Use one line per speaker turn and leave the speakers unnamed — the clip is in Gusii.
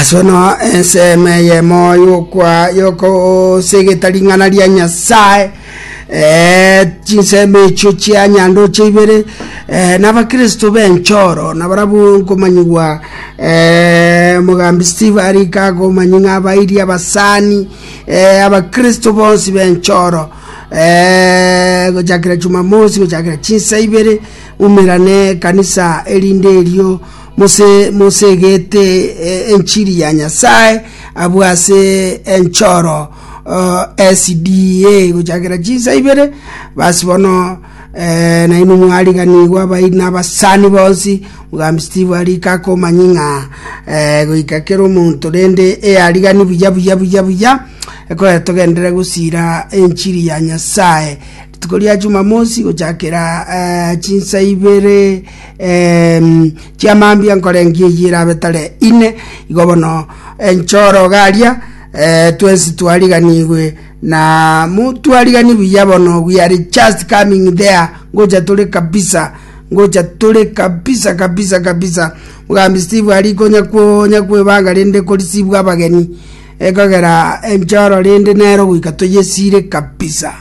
Ase bono ensemo eyemo yokwa yokosegeta ring'ana ria Nyasae eh, chinsemo echio chia nyandoche ibere eh, na abakristo b'enchoro nabarabwo nkomanyigwa eh, omogambi Steve arike akomanyi ng'a abairi abasani eh, abakristo bonsi b'enchoro eh, gochakera Jumamosi gochakera chinsa ibere umerane ekanisa erinde erio Mose mosegete enchiri ya Nyasae abwo ase enchoro SDA gochakera chinsa ibere basi bono eh, nainwe mwariganigwe abairi na abasani bonsi Mugambi Steve arike akomanyi ng'a eh, goika kera omonto rende eyarigani buya buya buya buya ekogera togenderere gosira enchiri ya Nyasae rituko ria Jumamosi gochakera eh, chinsa ibere Em, chiamambia nkorengia eyio erabe tare ine, igo bono enchoro iga aria, eh, twensi twariganigwe na motwarigani buya bono we are just coming there, ngocha tore kabisa, ngocha tore kabisa kabisa kabisa. Mogambi Steve aria konya konya kwebanga rende korisibwa abageni, ekogera enchoro rende nero goika toyesire kabisa.